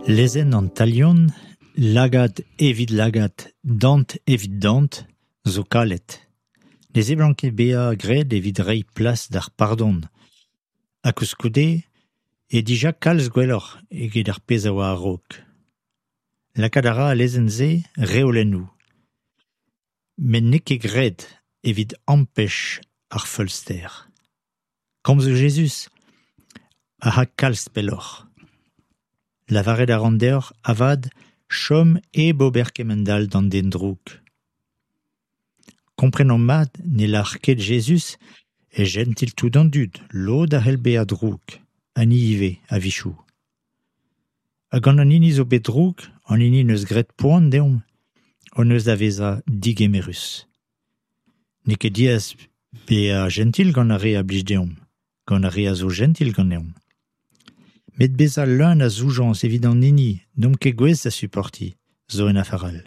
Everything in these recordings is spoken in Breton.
Lezenn an talion, lagad evit lagad, dant evit dant, zo kalet. Ne seblant ket bezañ graet evit reiñ plas d'ar pardon. Ha koulskoude eo dija kalz gwelloc'h eget ar pezh a oa a-raok. Lakaat a ra al lezenn-se reolennoù. Met n'eo ket graet evit ampech ar feulster. Komzoù Jezuz a ya kalz pelloc'h. Lavaret a ran deoc'h avat chom hep ober kemend-all d'an den drouk. Komprenomp mat ne lâr ket Jezuz eo jentil tout an dud, lod a c'hell bezañ drouk, ha ni ivez a-wechoù. Ha gant an hini zo bet drouk, an hini 'neus graet poan deomp, hon eus da vezañ degemerus. N'eo ket diaes bezañ jentil gant ar re a blij deomp, gant ar re a zo jentil ganeomp. Met bezañ leun a zoujañs evit an hini n'omp ket gouest da suportiñ zo un afer all.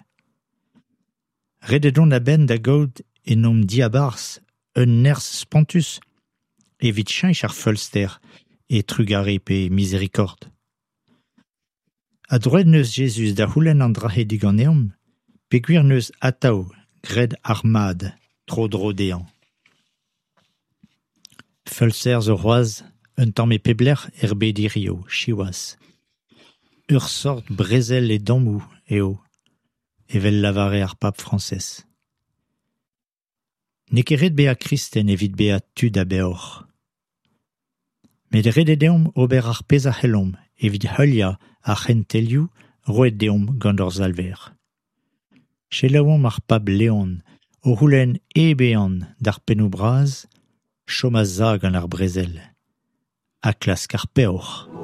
Ret eo dont a-benn da gaout en hon diabarzh un nerzh spontus evit cheñch ar feulster e trugarez pe mizerikord. Ha droed 'neus Jezuz da c'houlenn an dra-se diganeomp peogwir 'neus atav graet ar mad tro-dro dezhañ. Feulster zo c'hoazh un tamm e pep lec'h er bed hiziv, siwazh. Ur seurt brezel e dammoù eo, evel 'lavare ar pab Frañsez. N'eo ket ret bezañ kristen evit bezañ tud a beoc'h. Met ret eo deomp ober ar pezh a c'hellomp evit heuliañ ar c'hentelioù roet deomp gant hor Salver. Selaouomp ar pab Leon o c'houlenn hep ehan d'ar pennoù bras chom a-sav gant ar brezel ha klask ar peoc'h.